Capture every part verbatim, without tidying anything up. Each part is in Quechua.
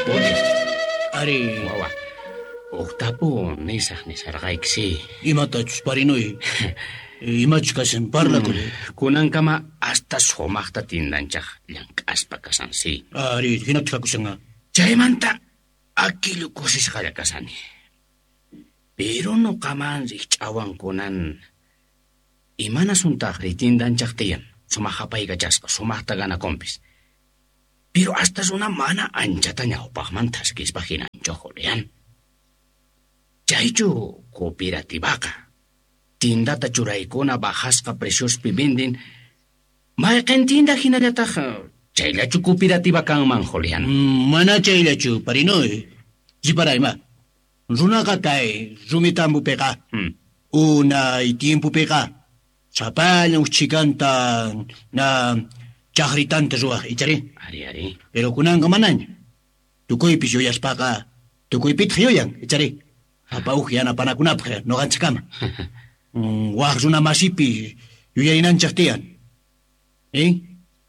Juli, Ari, wawa, uqtapu nisaq nisarqayki si. Imatachus, parinuy? Imachus kashan, parlakuy. Kunankama hasta sumaqta tindanchaq llank'aspa kasan si. Ari, hinataq kakushanqa. Chaymanta akillu kusisqalla kasani. Pero nuqaman rikch'awan kunan imanasuntaqri tindanchaq tiyan sumaq apaykachasqa sumaqta ganakunpis. Pero hasta runa mana anchata ñawpaqman thaskispa hinanchu, Julián. Chaychu cooperativaqa tindata churaykuna bajasqa preciospi vendin mayqin tinda hinallataq chayllachu cooperativa kanman, Julián? Mm, mana chayllachu, parinuy. Riparay ma. Runaqa kay rumitambupiqa Hmm. unay tiempopiqa sapallan chikanta na chaqritanta ruwaq, ichari? Ari, ari. Pero kunanqa manaña. Tukuypis yuyaspaqa tukuypitaq yuyan, ichari? Sapa uj yanapanakunapaq nuqanchikkama. Mm, waq runa masipi yuyarinanchik tiyan. Eh?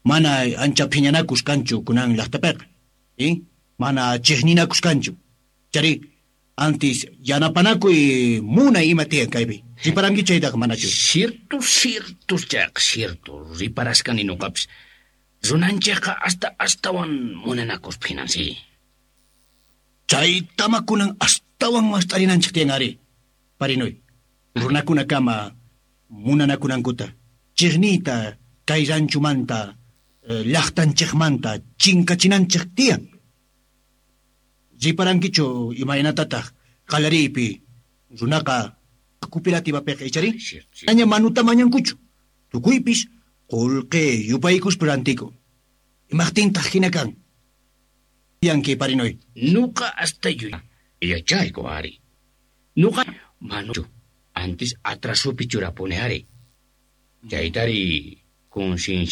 Mana ancha phiñanakus kanchu kunan llaqtapiqa. Eh? Mana chiqninakus kanchu. Chari, antes yanapanakuy munay ima tiyan kaypi. Riparanki chaytaqa manachu? Cierto, cierto, chayqa cierto. Riparasqani nuqapis. Runanchikqa hasta astawan munanakuspa hinan si. Chaytama kunan astawan mast'arinanchik tiyan ari. Parinuy. Runakunakama munanakunankuta. Chiqniyta kay ranchumanta, eh, llaqtanchikmanta chinkachinanchik tiyan. Riparankichu imaynatataq qallariypi runaqa cooperativapiqa, ichari? Cierto, cierto. Aña manuta mañankuchu. Tukuypis qullqi yupaykuspa rantiku. Imaqtintaq hina kan? Yanki, parinuy. Nuqa hasta yachayku ari. Nuqa manuchu antes atrasupi churapuni ari. Chaytari conciencia